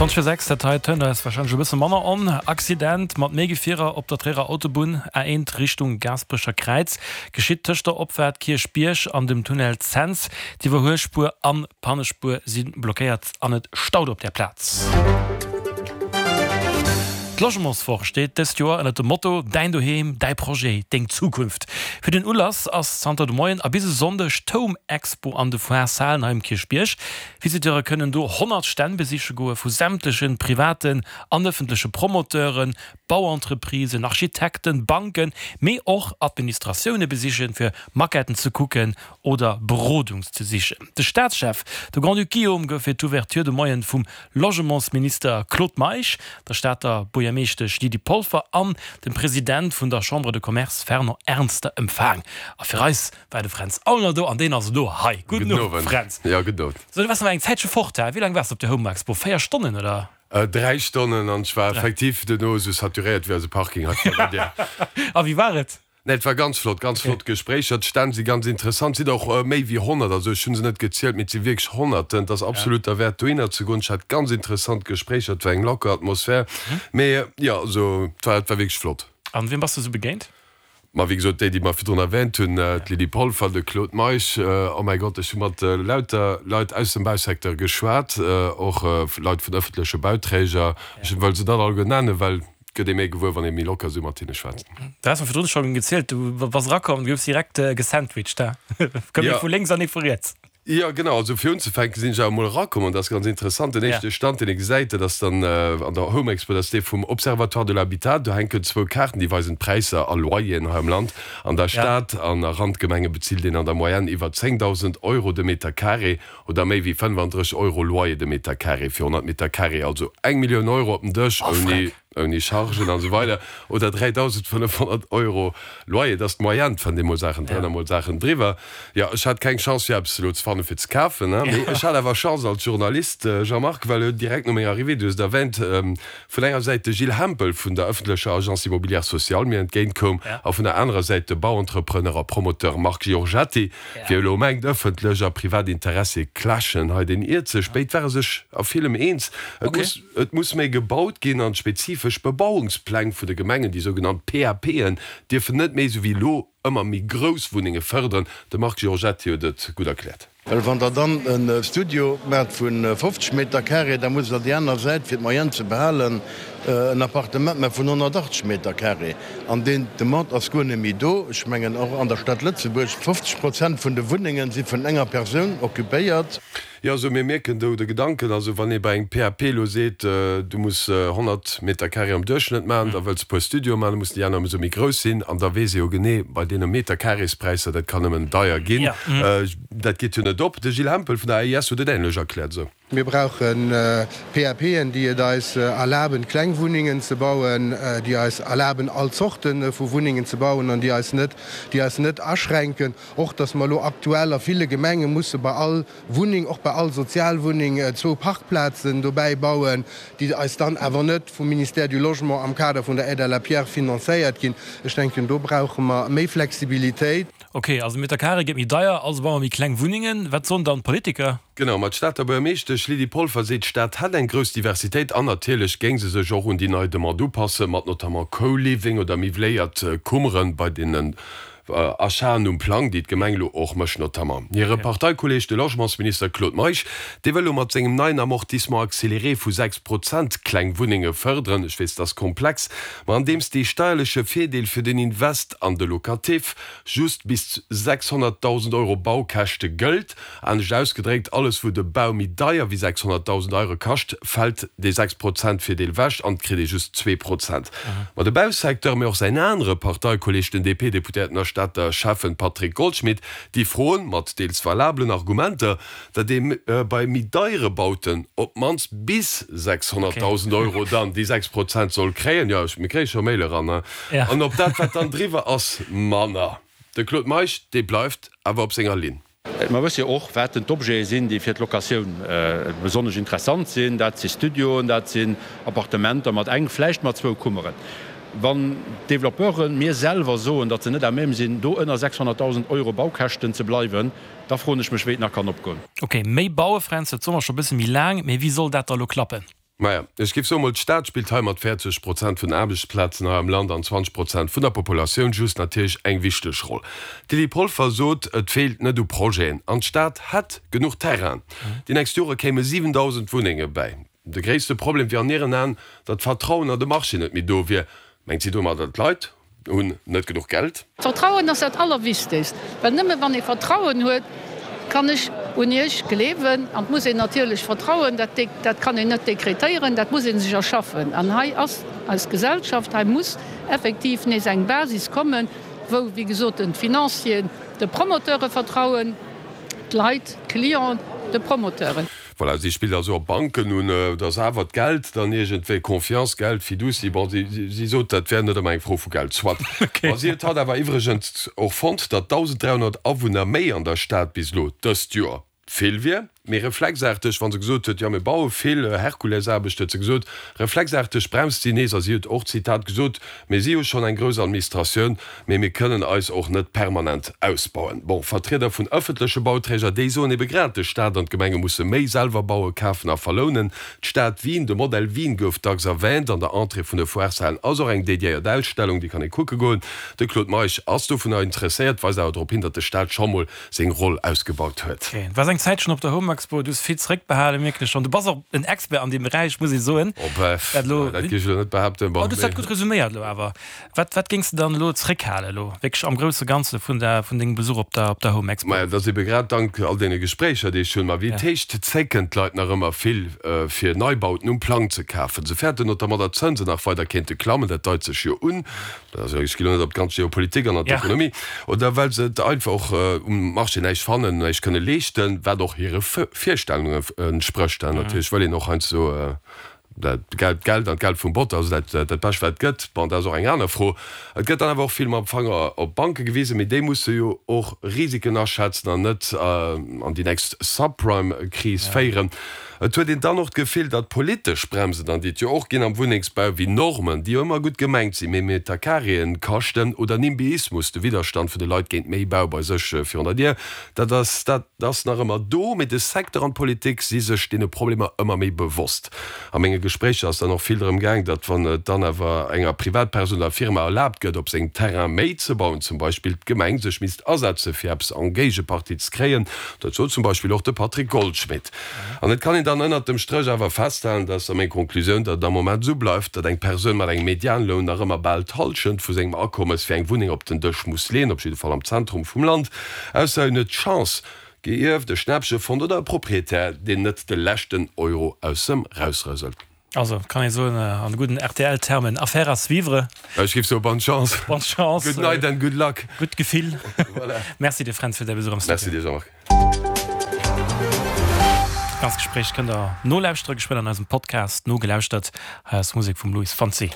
20 vir 6, dat hei tönt eis warscheinlech e bësse manner on. Accident mat méi Gefierer op der Tréierer Autobunn, A1 Richtung Gaasperecher Kräiz, geschitt tëscht der Opfaart Kierchbierg an dem Tunnel Cents. D'Iwwerhuelspuer an d'Pannespuer si blockéiert an et staut op där Plaz. D'Logementswoch steet dëst Joer ënnert dem Motto Däin Doheem, däi Projet, deng Zukunft. Fir den Ulass ass zanter de Moien a bis e Sonndeg d'Home Expo an de Foire-Salen hei um Kierchbierg. Visiteure kënnen do 100 Stänn besiche goe vu sämtleche privaten an ëffentleche Promoteuren, Bauentreprisen, Architekten, Banken, mee och Administratioune besichen, fir Maquetten ze kucken oder Berodung ze sichen. De Staatschef, de Grand-Duc Guillaume, gouf fir d'Ouverture de Moien vum Logementsminister Claude Meisch, der Stater Buergermeeschtesch Lydie Polfer an dem President vun der Chambre de Commerce Fernand Ernster empfaang. A fir eis war de Fränz Aulner do an deen ass elo hei. Gudden Owend, Fränz. Jo, gudden Owend. So, du waars awer eng Zäitche fort, he? Wéi laang waars de op der Home Expo? 4 Stonnen, oder? 3 Stonnen an ech war effektiv duerno esou saturéiert wéi eise Parking hei virun der Dier. A wéi war et? Nee, et war ganz flott, ganz flott Gespréicher. D'Stänn si ganz interessant, et sinn och méi wéi 100, also ech hu se net gezielt, mee et si wierklech Honnerten. Et ass absolut derwäert dohinner ze goen. Ech hat ganz interessant Gespréicher, et war eng locker Atmosphär, mee jo, also et war, et war wierklech flott. An wiem bass de sou begéint? Ma wéi gesot, déi, déi mer virdrun erwähnt hunn, d'Lydie Polfer, de Claude Meisch, oh mäi Gott, ech hu mat lauter Leit aus dem Bausecteur geschwat, och Leit vun ëffentleche Bauträger. Ech wëll se net alleguer nennen, well et gëtt ee méi gewuer, wann ee méi locker esou mat hinne schwätzt. Du has mer virdrun scho gezielt, du bass erakomm, du goufs direkt gesandwiched, he? Koum ee vu lénks an ee vu riets. Jo, genau. Also fir unzefänken sinn ech awer emol erakomm an dat ass ganz interessant. Den éischte Stand, deen ee gesäit, dat ass dann an der Home Expo, dat ass dee vum Observatoire de l'Habitat. Do hänken zwou Kaarten, déi weisen d'Präisser a Loyeren hei am Land. An der Stad an a Randgemenge bezilt een an der Moyenne iwwer 10.000 Euro de Meter carré oder méi wéi 35 Euro Loyer de Meter carré fir 100 Meter carré, also eng Millioun Euro op den Dësch ouni. Ouni Chargen an esou weider, oder 3.500 Euro Loyer, dat ass d'Moyenne, et fënnt ee mol Saachen drënner, mol Saachen driwwer. Jo, ech hat keng Chance fir eppes elo ze fannen fir ze kafen, mee ech hat awer Chance als Journalist, Jean-Marc, well jo direkt no menger Arrivée, du hues et erwähnt, vun enger Säit de Gilles Hempel vun der ëffentlecher Agence Immobilière Sociale mir entgéint koum a vun der anerer Säit de Bauentrepreneur a Promoteur Marc Giorgetti. Wie elo mengt, ëffentlech a privat Interessie clashen hei, deen iert sech. Béid ware sech a villem eens. Et muss. Et muss méi gebaut ginn an d'spezifesch Bebauungspläng vun de Gemengen, déi sougenannt PAPen, dierfen net méi, esou wéi elo, ëmmer méi grouss Wunnenge fërderen. De Marc Giorgetti huet et gutt erkläert. Well wann Der dann e Studio maacht vu 50 Meter carré, da musst Der déi aner Säit, fir d'Moyenne ze behalen, en Appartement maache vun 180 Meter carré. An deen Demande ass guer net méi do. Ech mengen och an der Stad Lëtzebuerg, 50 Prozent vun de Wunnengen si vun enger Persoun occupéiert. Jo, also mir mierken do de Gedanken, also wann ee bei engem PAP elo seet, du muss 100 Meter carré am Duerchschnëtt maachen, da wëlls e puer Studioe maachen, da mussen déi aner ëmsou méi grouss sinn an da weess ee jo genee, bei deene Metercarréspräisser, dat kann nëmmen deier ginn, dat geet jo net op. De Gilles Hempel vun der AIS huet et änlech erkläert esou. Mir brauche PAPen, déi et eis erlaben, kleng Wunnengen ze bauen, déi eis erlaben, all Zorte vu Wunnengen ze bauen an déi eis net, déi eis net aschränken. Och datt mer elo aktuell a ville Gemenge musse bei all Wunneng, och bei all Sozialwunneng, zwou Parkplazen dobäi bauen, déi eis dann awer net vum Ministère du Logement am Kader vun der Aide à la pierre finanzéiert ginn. Ech denken, do brauche mer méi Flexibilitéit. Ok, also Meter Carré gëtt méi deier, also baue mer méi kleng Wunnengen. Wat soen dann d'Politiker? Genau, ma d'Stater Buergermeeschtesch Lydie Polfer seet, d'Stad hätt eng grouss Diversitéit an natierlech géing se sech och un déi nei Demande upassen, mat notamment Co-Living oder miwwléiert Kummeren bei deenen Achaten um Plang, déi d'Gemeng elo och mécht. Notamment hire Parteikolleeg, de Logementsminister Claude Meisch, dee wëll elo mat sengem neien Amortissement accéléré vu 6 Prozent kleng Wunnenge fërderen. Ech weess, et ass komplex, ma andeems dee steierleche Virdeel fir den Invest an de Locatif just bis 600.000 Euro Baukäschte gëllt, Anescht ausgedréckt, alles wou de Bau méi deier wéi 600.000 Euro kascht, fält dee 6 Prozent Virdeel ewech an et kritt ee just 2 Prozent. Ma de Bausecteur, mee och säin anere Parteikolleeg, den DP-Deputéierten a Stater Schäffen Patrick Goldschmidt, déi froen, mat deels valabelen Argumenter, datt ee bei méi deiere Bauten op d'mannst bis 600.000 Euro dann déi 6 Prozent soll kréien, jo, mir kréie scho Mail eran, an op dat wat dann driwwer ass, manner. De Claude Meisch, dee bleift awer op senger Linn. Mer wësse jo och, wat denn d'Objete sinn, déi fir d'Locatioun besonnesch interessant sinn. Dat si Studioen, dat sinn Appartementer mat eng, vläicht mat zwou Kummeren. Wann d'Développeuren mir selwer soen, datt se net à même sinn, do ënner 600.000 Euro Baukäschten ze bleiwen, da froen ech mech, wéi et nach kann opgoen. Ok, méi baue, Fränz, dat soe mer scho e bësse méi laang, mee wéi soll dat da elo klappen? Maja, ech géif soen mol, d'Stad spillt hei mat 40 Prozent vun den Aarbechtsplazen hei am Land an 20 Prozent vun der Populatioun just natierlech eng wichteg Roll. D'Lydie Polfer sot, et feelt net u Projeten an d'Stad hätt genuch Terrain. Déi nächst Jore kéime 7.000 Wunnenge bäi. De gréisste Problem wier an hiren Aen, datt d'Vertrauen an de Marché net méi do wier. Mengt si domadder d'Leit hunn net genuch Geld? Vertrauen ass dat Allerwichtegst, well nëmme wann ee Vertrauen huet, kann ech un Iech gleewen. An et muss een natierlech vertrauen, dat, dat kann een net dekretéieren, dat muss ee sech erschaffen. An hei ass eis Gesellschaft, hei muss effektiv nees eng Basis kommen, wou, wéi gesot, den d'Financieren de Promoteure vertrauen, d'Leit, d'Clienten de Promoteuren. Voilà, si spillt also op Banken un, et ass awer d'Geld dann iergendwéi, Confiance, Geld, Fiducie, bon, si, si sot, dat wär net ëmmer eng Fro vu Geld, soit. Ma si huet haut awer iwwregens och fonnt, datt 1.300 Awunner méi an der Stad bis elo dëst Joer vill wier. Mee reflexaarteg, wa se gesot huet, jo mir baue vill, Herkulesaarbecht, huet se gesot, reflexaarteg bremst si nees a si huet och, Zitat, gesot, Mir si jo schonn eng grouss Administratioun, mee mir kënnen eis och net permanent ausbauen. Bon, Vertrieder vun ëffentleche Bauträger, déi soen ebe grad, de Staat an d'Gemenge musse méi selwer bauen, kafen a verlounen. D'Stad Wien, de Modell Wien gouf dacks erwähnt. An der Entrée vun de Foireshalen ass och eng dédiéiert Ausstellung, déi kann ee kucke goen. De Claude Meisch ass dovunner interesséiert, weist awer drop hin, datt de Staat scho mol seng Roll ausgebaut huet. Du waars eng Zäitchen op der Home Expo, du hues vill zeréckbehalen, mierken ech schonn. Du bass och en Expert an deem Beräich, muss ee soen. Oh bref, dat géif ech elo net behaapten. Bon, du hues dat gutt resuméiert elo awer. Wat, wat géings de dann elo zeréckhalen elo wierklech am grousse Ganze vun der, vun dengem Besuch op der, op der Home Expo? Maja, dat ass ebe grad dank all deene Gespréicher, déi ech hunn. Ma wéi et heescht, zécken d'Leit nach ëmmer vill, fir Neibauten um Plang ze kafen. Se fäerten notamment, datt d'Zënsen nach weider kéinte klammen, dat deit sech jo un. Also ech ginn elo net op d'ganz Geopolitik an an d'Ekonomie, oder well se et einfach och um Marché näischt fannen, näischt kënne leeschten, wat och hire Virstellungen entsprécht. Natierlech wëll een och heiansdo dat Geld, d'Geld an d'Geld vum Bot, also dat dat Bescht wat et gëtt. Bon, dat ass och eng aner Fro. Et gëtt dann awer och vill mam Fanger op d'Banke gewisen, mee déi musse jo och Risiken aschätzen an net an déi nächst Subprime-Kris féieren. Et huet een dann och d'Gefill, datt politesch Bremsen, an déi et jo och ginn am Wunnengsbau, wéi Normen, déi jo ëmmer gutt gemengt sinn, mee Metercarréen kaschten, oder Nimbyismus, de Widderstand vun de Leit géint méi Bau bei sech virun der Dier, dat ass, dat ass nach ëmmer do. Mee de Secteur an d'Politik si sech deene Problemer ëmmer méi bewosst. A menge Gespréicher ass dann och vill drëm gaang, datt wann et dann awer enger Privatpersoun oder Firma erlaabt gëtt, op sengem Terrain méi ze bauen, zum Beispill d'Gemeng sech misst asetze fir eppes en Géigepartie ze kréien. Dat sot zum Beispill och de Patrick Goldschmidt. An et kann een dann ënnert dem Stréch awer festhalen, dat ass da meng Konklusioun, datt et am Moment esou bleift, datt eng Persoun mat engem Medianloun nach ëmmer bal d'Hallschent vu sengem Akommes fir eng Wunneng op den Dësch muss leeën, op jidde Fall am Zentrum vum Land, ausser en huet d'Chance, geierft, e Schnäppche fonnt oder e Proprietär, deen net de leschten Euro aus em rausrëselt. Also, kann ee soen, an gudden RTL-Termen, Affaire à suivre. Ech géif soen, Bonne chance. Bonne chance. Good night and good luck. Gutt Gefill. Voilà. Merci dir, Fränz, fir däi Besuch am Studio. Merci dir, Jean-Marc. Dat ganzt Gespréich kënnt der nolauschtere geschwënn an eisem Podcast Nogelauschtert. Hei ass Musek vum Luis Fonsi.